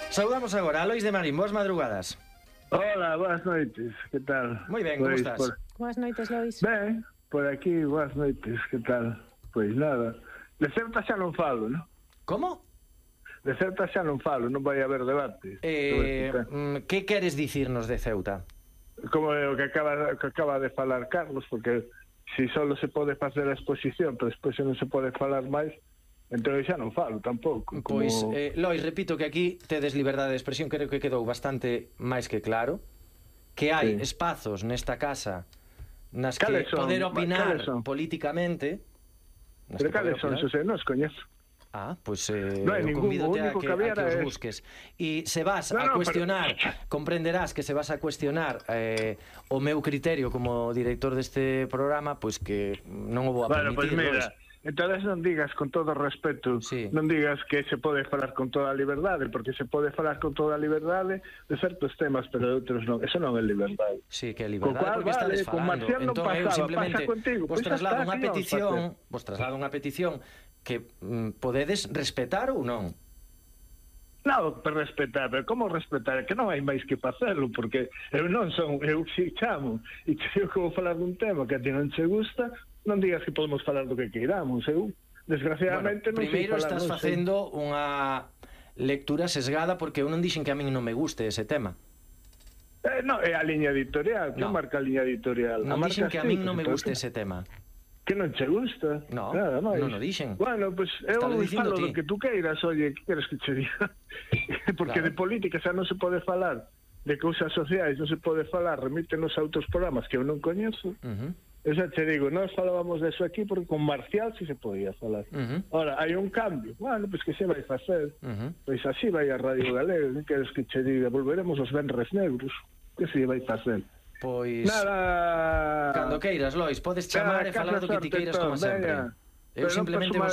Saudamos agora a Lois de Marín, boas madrugadas. Hola, boas noites, que tal? Moi ben, como estás? Boas noites, Lois. Ben, por aquí, boas noites, que tal? Pois nada, de Ceuta xa non falo, non? Como? De Ceuta xa non falo, non vai haber debate. Que queres dicirnos de Ceuta? Como o que acaba de falar Carlos, porque si solo se pode facer a exposición, pero despois non se pode falar máis, entón xa non falo tampouco. Pois, Lois, repito que aquí tedes liberdade de expresión, creo que quedou bastante máis que claro, que hai espazos nesta casa nas que poder opinar políticamente. Pero cales son, Xosé, non os coñezo. Pois convídote a que os busques. E se vas a cuestionar, comprenderás que se vas a cuestionar o meu criterio como director deste programa, pois que non o vou a permitir. Pois mira, entonces non digas con todo respeto, non digas que se pode falar con toda a liberdade, porque se pode falar con toda a liberdade de certos temas, pero de outros non. Eso non é liberdade. Sí, que é liberdade, porque estades falando. Entón eu simplemente vos traslado unha petición que podedes respetar ou non? Non, per respetar, pero como respetar? Que non hai máis que facelo, porque eu non son, eu si chamo e creo que vou falar dun tema que a ti non che gusta, non digas que podemos falar do que queiramos. Eu, desgraciadamente, non sei falar. Primeiro estás facendo unha lectura sesgada, porque eu non dixen que a min non me guste ese tema. Non, é a liña editorial, que marca a liña editorial? Non dixen que a min non me guste ese tema. Que non che gusta? No, non o dixen. Bueno, pois eu falo do que tú queiras, oye, que queres que che diga? Porque de política xa non se pode falar, de cousas sociais non se pode falar, remítenos a outros programas que eu non coñezo. Eu xa te digo, nós falábamos deso aquí porque con Marcial si se podía falar. Ora, hai un cambio, bueno, pois que se vai facer? Pois así vai a Radio Galega, que queres que che diga? Volveremos aos Venres Negros, que se vai facer? Pois nada, cando queiras, Lois, podes chamar e falar do que ti queiras como sempre. Eu simplemente